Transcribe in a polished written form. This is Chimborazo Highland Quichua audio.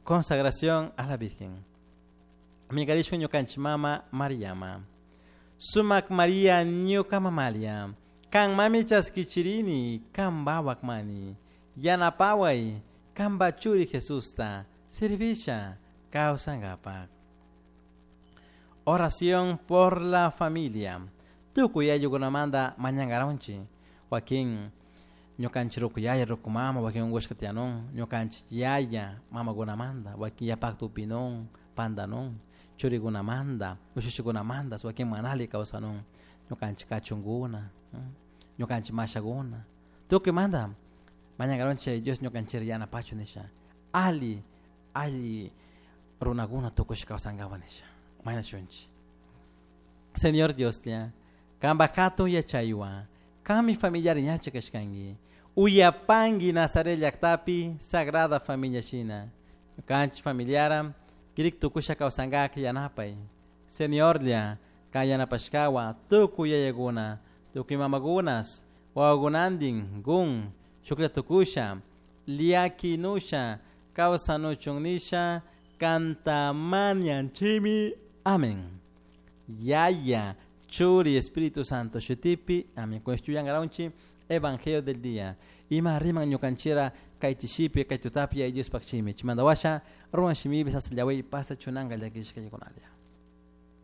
Consagración a la Virgen. Minkarishun ñukanchik mama Mariama. Sumak Maria ñuka mamalia. Kan mami chaskichirini, kan bawak mani. Yanapaway, kanpa churi Jesusta, servisha, kawsankapak. Oración por la familia. Tukuy ayllukunamanta mañankaronchik. Wakin ñukanchik ruku yaya, ruku mama, wakin unkushka tiyanun, ñukanchik yaya mamakunamanta, wakin yapakta upinun, pantanun, churikunamanta, ushushikunamanta, wakin mana alli kawsanun, ñukanchik kachunkuna, ñukanchik mashakuna, tukuymanta mañankaronchik Dios ñukanchik yanapachun nisha, alli, alli runakuna tukushka kawsankapak nisha, mañashunchik. Señor Dioslla, kanpak hatun yachaywan, kanmi familiar ñacha kashkanki, uyapanki Nazaret llaktapi Sagrada Familia shina, ñukanchik familiara kirik tukusha kawsankak yanapay. Señorlla, kan yanapashkawan tukuy yayakuna, tukuy mamakunas, wawakunantin gun, shuklla tukusha, llakinusha, kawsanuchun nisha, kanta mañanchimi. Amén. Yaya, Churi, Espíritu Santo, shutipi. Amén. Con esto yangaronchi, Evangelio del día. Ima riman ñukanchira kay chishipi, kay tutapi, ay Dios pakchimi. Chimandawasha, ruan shimibi, sasallawi, pasa chunanga llakishka yakunalia.